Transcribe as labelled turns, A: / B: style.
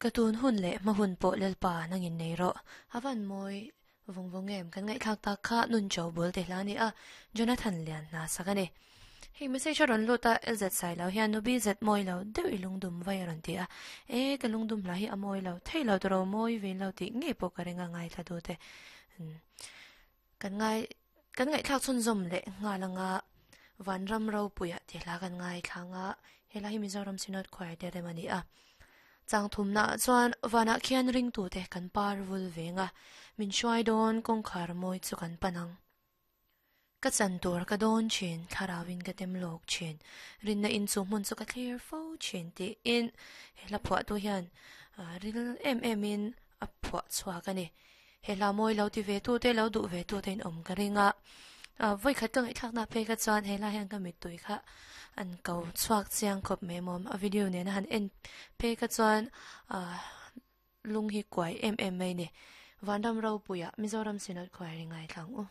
A: Ka tun hun leh hma hun pawh Lalpa nangin nei rawh. A van mawi vawng vawng em? Kan ngaihthlak tak kha nun cho bul te hla a ni a, Jonathan lian hna sak a ni. Hei message a rawn lut a, LZ sai lo hian nu BZ mawi lo deuh i lungdum vai a rawn ti a. E, ka lungdum hla hi a mawi lo thei lo tawh ro, mawi ve lo tih ngei pawh ka ring a ngaithla tu te. Kan ngai kan ngaihthlak chhunzawm leh nghal anga Vanram Ropuia tih hla kan ngaithla anga helai hi Mizoram Synod Choir te rem a ni a. Chang thumna ah chuan vanah khian ringtute kan par vul veng a, min hruai dawn kawngkhar mawi chu kan pan ang. Ka chan tur ka dawn thin, thlarauin ka tem lawk thin, rinna in chu hmun chu ka thlir fo thin tiin he hla phuahtu hian ril em em in a phuah chhuak a ni. He hla mawi lo ti ve tu te, lo duh ve tu te in awm ka ring a. Vawi khat ka ngaihthlak na phei kha chuan he hla hian ka mittui kha an ko chhuak chiang khawp mai maw. A video nena han en phei kha chuan lung hi kuai em em mai a ni. Vanram Ropuia Mizoram Synod Choir i ngaithla ang u.